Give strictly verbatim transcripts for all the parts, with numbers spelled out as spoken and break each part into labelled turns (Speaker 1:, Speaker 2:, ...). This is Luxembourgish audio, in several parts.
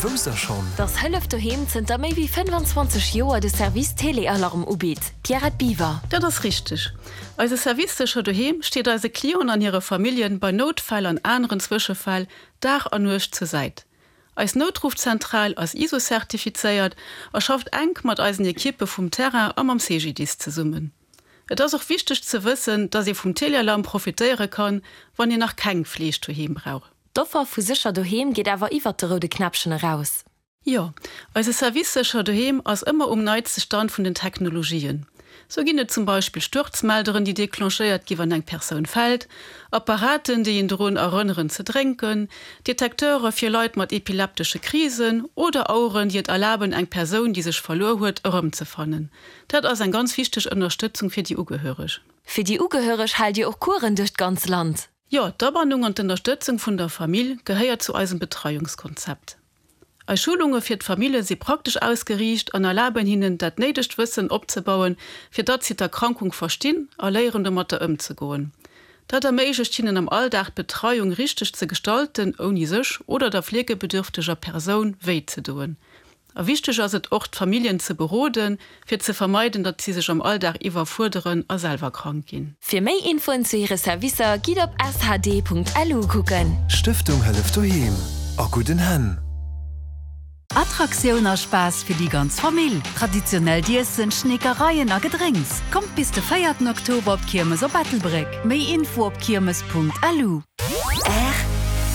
Speaker 1: Wousst der schonn?
Speaker 2: Dass Hëllef Doheem zënter méi wéi fënnefanzwanzeg Joer de Service Téléalarme ubitt? Pierrette Biwer.
Speaker 3: Dat ass richteg. Eise Service Sécher Doheem steet eise Clienten an hire Familljen bei Noutfäll an aneren Zwëschefäll Dag an Nuecht zur Säit. Eis Noutruffzentral ass ISO-zertifizéiert a schafft enk mat eisen Ekippe vum Terrain a mam C G D I S zesummen. Et ass och wichteg ze wëssen, dass ee vum Téléalarm profitéiere kann, wann een nach keng Fleeg doheem brauch.
Speaker 2: D'Offer vu Sécher Doheem geet awer iwwert de roude Knäppchen eraus.
Speaker 3: Jo, eise Service Sécher Doheem ass ëmmer um neitste Stand vun den Technologien. Sou ginn et zum Beispill Stuerzmelderen, déi declenchéiert gi wann eng Persoun fält, Apparaten, déi een drun erënneren ze drénken, Detekteure fir Leit mat epileptesche Krisen oder Aueren, déi et erlaben, eng Persoun, déi sech verluer huet, erëmzefannen. Dat ass eng ganz wichteg Ënnerstëtzung fir déi Ugehöreg.
Speaker 2: Fir déi Ugehöreg haalt Dir och Coursen duerch d'ganz Land.
Speaker 3: Jo, d'Abannung an d'Ënnerstëtzung vun der Famill gehéiert zu eisem Betreiungskonzept. Eis Schulunge fir d'Famillje si praktesch ausgeriicht an erlaben hinnen, dat néidegt Wëssen opzebauen, fir datt si d'Erkrankung verstinn a léieren domatter ëmzegoen. Dat erméiglecht hinnen am Alldag d'Betreiung richteg ze gestalten, ouni sech oder der fleegebedürfteger Persoun wéi ze doen. A wichteg ass et och, d'Familljen ze beroden, fir ze vermeiden, datt si sech am Alldag iwwerfuerderen a selwer krank ginn.
Speaker 2: Fir méi Infoen zu hire Servicer gitt op S H D Punkt L U kucken.
Speaker 1: Stëftung Hëllef Doheem, a gudden Hänn.
Speaker 4: Attraktioun a Spaass fir déi ganz Famill. Traditionellt Iessen, Schneekereien a Gedrénks. Kommt bis de véierten Oktober op d'Kiermes op Ettelbréck. Méi Info op kiermes Punkt L U.
Speaker 5: R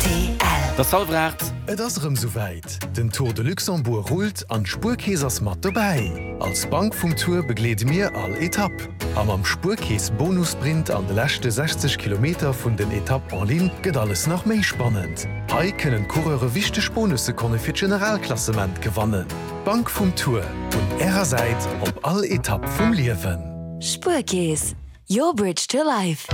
Speaker 5: T L.
Speaker 6: Et ass hallwer aacht.
Speaker 1: Et ass erëm souwäit, Den Tour de Luxembourg rullt an d'Spuerkeess ass mat dobäi. Als Bank vum Tour begleede mir all Etapp. A mam Spuerkeess Bonussprint an de leschte sechzeg Kilometer vun den Etapp en ligne gëtt alles nach méi spannend. Hei kënnen d'Coureure wichteg Bonussekonne fir d'Generalklassement gewannen. Bank vum Tour, un ärer Säit op all Etapp vum Liewen.
Speaker 2: Spuerkeess, your bridge to life.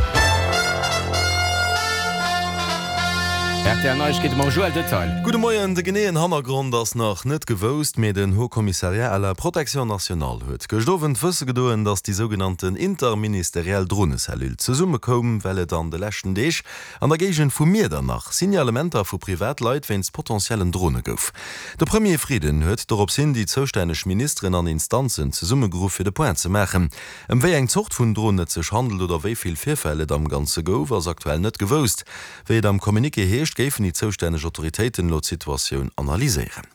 Speaker 6: R T L Neiegkeete mam Joël Detail.
Speaker 7: Gudde Moien, De geneeën Hannergrond ass nach net gewousst, mee den Haut Commissariat à la Protection nationale huet gëscht Owend wësse gedoen, datt déi sougenannten interministeriell Dronecellule zesummekoum, well et an de leschten Deeg an der Géigend vu Miedernach Signalementer vu Privatleit wéinst potentiellen Drone gouf. De Premier Frieden huet dorops hin déi zoustänneg Ministeren an Instanzen zesummegeruff fir de Point ze maachen. Ëm wéi eng Zort vun Dron et sech handelt oder wéi vill Virfäll et am Ganze gouf, ass aktuell net gewousst. Wéi et am Communiqué heescht, géifen déi zoustänneg Autoritéiten elo d'Situatioun analyséieren.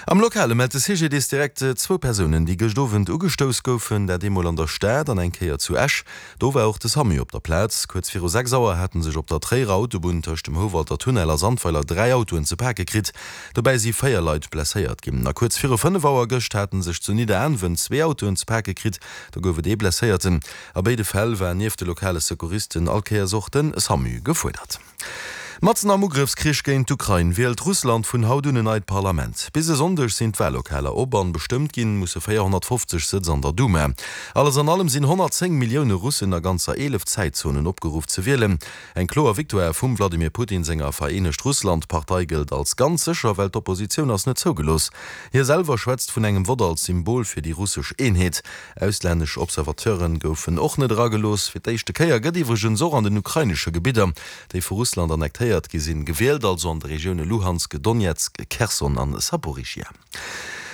Speaker 7: Am Lokale mellt de C G D I S direkt zwou Persounen, déi gëscht Owend ugestouss goufen, dat eemol an der Stad an eng Kéier zu Esch. Do war och de SAMU op der Plaz. Kuerz viru sechs Auer hate sech op der Tréierer Autobunn tëscht dem Houwalder Tunnel a Sandweiler dräi Autoen ze pake kritt. Dobäi si véier Leit blesséiert ginn. A kuerz viru fënnef Auer gëscht hate sech zu Nidderaanwen zwee Autoen ze pake kritt. Do gouf et ee Blesséierten. A béide Fäll war nieft de lokale Secouristen all Kéiers och de SAMU gefuerdert. Matzen am Ugrëffskrich géint d'Ukrain wielt Russland vun haut un en neit Parlament. Bis e Sonndeg sinn d'Wallokaler op an bestëmmt ginn musse véierhonnertfofzeg Sëtz an der Duma. Alles an allem sinn honnertzéng Millioune Russen a ganzer eelef Zäitzonen opgeruff ze wielen. Eng kloer Victoire vum Wladimir Putin senger Vereenegt Russland-Partei gëllt als ganz sécher, well d'Oppositioun ass net zougelooss. Hie selwer schwätzt vun engem Vott als Symbol fir déi russesch Eenheet. Auslännesch Observateure goufen och net eragelooss. Fir d'éischte Kéier gëtt iwwregens och an den ukrainesche Gebidder, déi vu Russland annektéiert gi sinn, gewielt, also an de Regioune Luhansk, Donezk, Kherson an Saporischschja.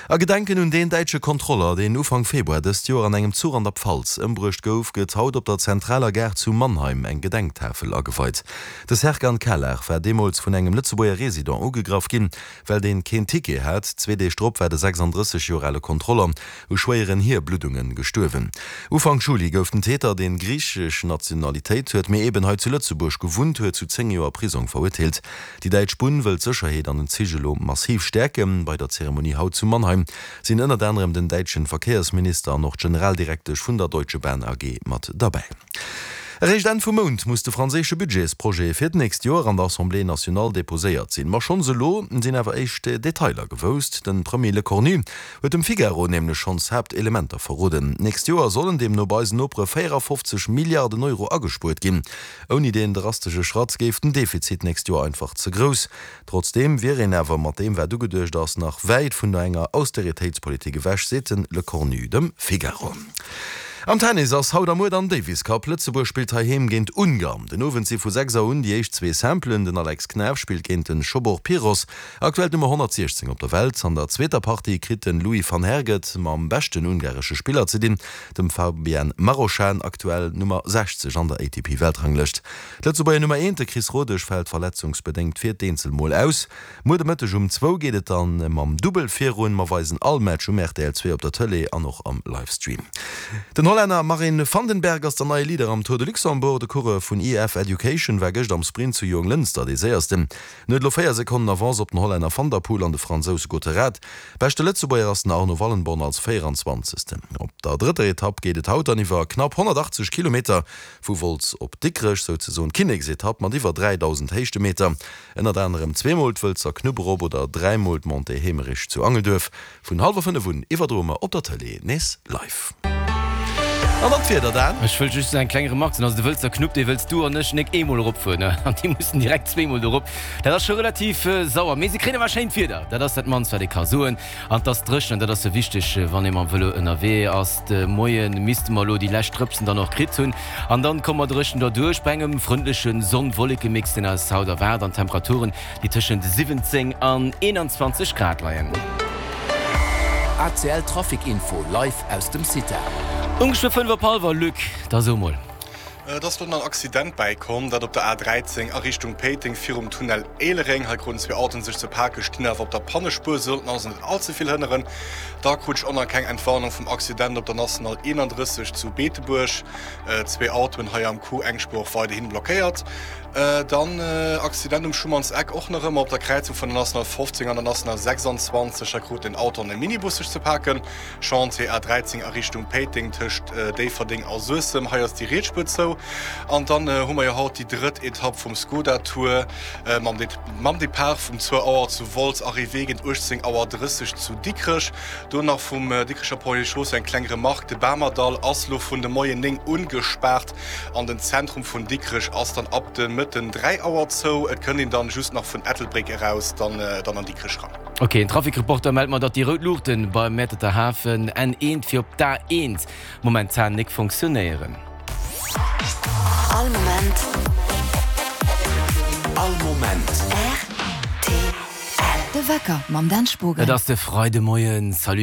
Speaker 7: A Gedenken un deen däitsche Kontroller, deen Ufank Februar dëst Joer an engem Zuch an der Pfalz ëmbruecht gouf, gëtt haut op der zentraler Gare zu Mannheim eng Gedenktafel ageweit. De Serkan Calar war deemools vun engem Lëtzebuerger Resident ugegraff ginn, well deen keen Ticket hat. Zwee Deeg drop war de sechsandrësseg Joer ale Kontroller u schwéieren Hierbluddunge gestuerwen. Ufank Juli gouf den Täter, deen griichesch Nationalitéit huet, mee eben hei zu Lëtzebuerg gewunnt huet, zu zéng Joer Prisong verurteelt. Déi däitsch Bunn wëll d'Sécherheet an den Zich elo massiv stäerken. Bei der Zeremonie haut zu Mannheim sinn ënnert anerem den däitschen Verkéiersminister an och d'Generaldirektesch vun der Deutsche Bahn A G mat derbäi. Eréischt Enn vum Mount muss de franséische Budgetsprojet fir d'nächst Joer an der Assemblée nationale deposéiert sinn. Ma schonns elo sinn awer éischt Detailer gewousst. De Premier Lecornu huet dem Figaro nämlech schonns Haaptelementer verroden. D'nächst Joer sollen deemno bei eisen Nopere véierafofzeg Milliarden Euro agespuert ginn. Ouni deen drastesche Schratt géif den Defizit d'nächst Joer einfach ze grouss. Trotzdeem wier een awer mat deem wat ugeduecht ass nach wäit vun enger Austeritéitspolitik ewech, seet de Lecornu dem Figaro. Am Tennis ass haut a muer dann Davis Cup. Lëtzebuerg spillt heiheem géint Ungarn. Den Owend si vu sechs Auer un déi éischt zwee Simpelen. Den Alex Knaff spillt géint den Zsombor Piros, aktuell d'Nummer honnertsiechzéng op der Welt. An der zweeter Partie kritt den Louis van Herck et mam beschten ungaresche Spiller ze dinn, dem Fabian Marozsan, aktuell Nummer sechzeg an der A T P-Weltranglëscht. D'Lëtzebuerger Nummer eent, de Chris Rodesch, fält verletzungsbedéngt fir d'Eenzel mol aus. Muer de Mëtteg um zwou geet et dann mam Dubbel virun. Mer weisen all Match um R T L zwee op der Tëlee an och am Livestream. Den Hollänner Marin van den Berg ass der neie Leader am Tour de Luxembourg. De Coureur vun E F Education war gëscht am Sprint zu Jonglënster dee séiersten. En huet elo véier Sekonnen Avance op den Hollänner van der Poel an de Fransous Gottérat. Beschte Lëtzebuerger ass den Arno Wallenborn als véieranzwanzegsten. Op der drëtter Etapp geet et haut dann iwwer knapp honnertachtzeg Kilometer vu Wolz op Dikrech, souzesoen d'Kinneksetapp mat iwwer dräidausend Héichtemeter. Ënnert anerem zweemol d'Wëlzer Knupp erop oder dräimol d'Montée Heemerich zu Angelduerf. Vun hallwer fënnef un iwwerdroe mer op der Tëlee nees live. An dann d'Wieder, Dan.
Speaker 6: Ech wëll just eng kleng Remark soen, also de Wëlzer Knupp, dee wëlls du an ech nik eemol eropfueren, an déi mussen direkt zweemol do erop. Dat ass scho relativ sauer, mee se kréien awer schéint Wieder, dat ass dat mannst wat ee ka soen. An 't ass dréchen, an dat ass jo wichteg, wann ee mam Vëlo ënnerwee ass. De Moie misste mer elo déi lescht Drëpsen dann och kritt hunn, an dann komme mer dréchen derduerch bei engem frëndleche Sonn-Wolleke-Mix, deen eis haut erwaart, an Temperaturen, déi tëschent siwwenzéng an eenanzwanzeg Grad leien.
Speaker 8: A C L Trafic Info live aus dem CITA.
Speaker 6: Ongeféier fënnef op hallwer, Luc, da so mol.
Speaker 9: Et ass do nach en Accident bäikomm, dat op der A dräizéng a Richtung Péiteng virum Tunnel Éilereng. Hei kruten zwee Autoen sech ze paken, stinn awer op der Pannespuer, sollten also net all ze vill hënneren. Da krut ech och nach keng Entwarnung vum Accident op der National eenandrësseg zu Beetebuerg. Zwee Autoen hei am Coup, eng Spuer och weiderhin blockéiert. Dann Accident um Schumann's Eck och nach ëmmer op der Kräizung vun der National fofzéng an der National sechsanzwanzeg. Hei krut en Auto an e Minibus sech ze paken. Chantier A dräizéng a Richtung Péiteng tëscht Déifferdeng a Suessem, hei ass déi riets Spuer zou. An dann hu mer jo haut déi drëtt Etapp vum Skoda Tour mam mam Depart vum zwou Auer zu Wolz, Arrivée géint uechtzéng Auer drësseg zu Dikrech. Do nach vum Dikrecher Pont et Chaussée eng kleng Remarque, De Bamerdall ass lo vun de Moien néng un gespaart an den Zentrum vun Dikrech ass dann ab de Mëtten dräi Auer zou. Et kënnt een dann just nach vun Ettelbréck eraus dann dann an Dikrech ran.
Speaker 6: Ok, en Trafic-Reporter mellt mer, datt déi rout Luuchten beim Mäerterter Hafen N eent fir op d'A eent momentan nik funktionéieren.
Speaker 5: All Moment.
Speaker 8: All Moment.
Speaker 5: R T L.
Speaker 4: De Wecker mam Dan Spogen.
Speaker 6: Et ass de Freidemoien. Salut.